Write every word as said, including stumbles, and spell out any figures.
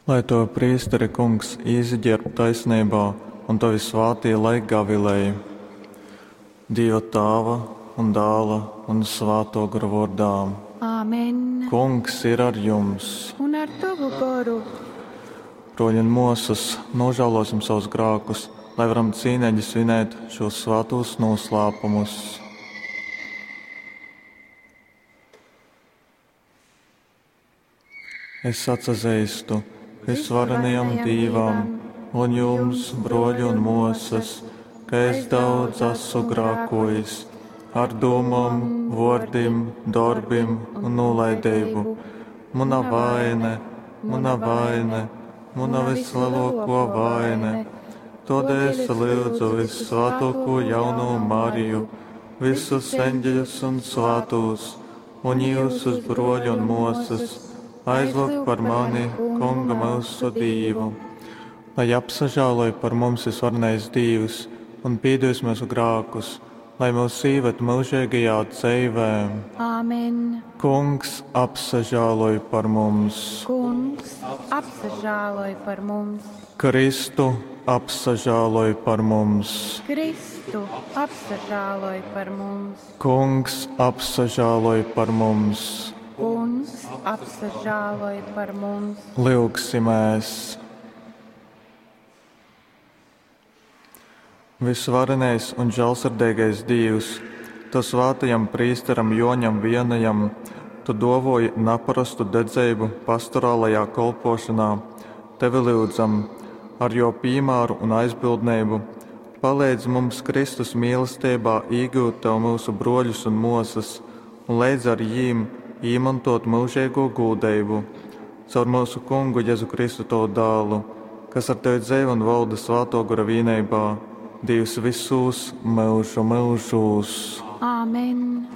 Lai tovi prīsteri, Kungs, īsagērb taisneibā un tovi svātī lai gavilej. Dīva Tāva un Dāla un Svātō Gora vōrdā. Āmen. Kungs ir ar jums. Un ar tovu goru. Brōļi un mōsas, nožēlosim savus grākus, lai varam cīneigi svinēt šos svātūs noslēpumus. Es atsazeistu visvarenajam Dīvam un jums, broļi un mōsas, ka es daudz esmu grākojis ar dūmom, vōrdim, dorbim un nolaidību. Muna vaine, muna vaine, muna vislielāko vaine. Todēļ es lūdzu vissvētāko jauno Mariju, visus eņģeļus un svētos, un jūsus broļu un mōsas, aizlūgt par mani, Kunga mūsu Dīvu. Lai apsažāloj par mums visvarenais Dīvs un pīdus mūsu grākus, lai mūs īved mūžīgajā dzīvē. Āmen. Kungs apsažāloj par mums. Kungs apsažāloj par mums. Kristu apsažāloj par mums. Kristu apsažāloj par mums. Kungs apsažāloj par mums. Kungs apsažāloj par mums. Lyugsimēs! Visvarenais un žēlsirdīgais Dievs, tu svātajam prīsteram Joņam Vienajam, tu dovoji naparastu dedzību pastorālajā kolpošanā. Tevi lūdzam, ar jo piemēru un aizbildnību, palīdz mums Kristus mīlestībā īgūt tev mūsu broļus un mosas, un līdz ar jīm īmantot mūžīgo gūdību. Caur mūsu kungu Jēzu Kristu tavu dēlu, kas ar tevi dzīvo un valda svāto gara vienībā, Dievs visus mūžu mūžos. Āmen.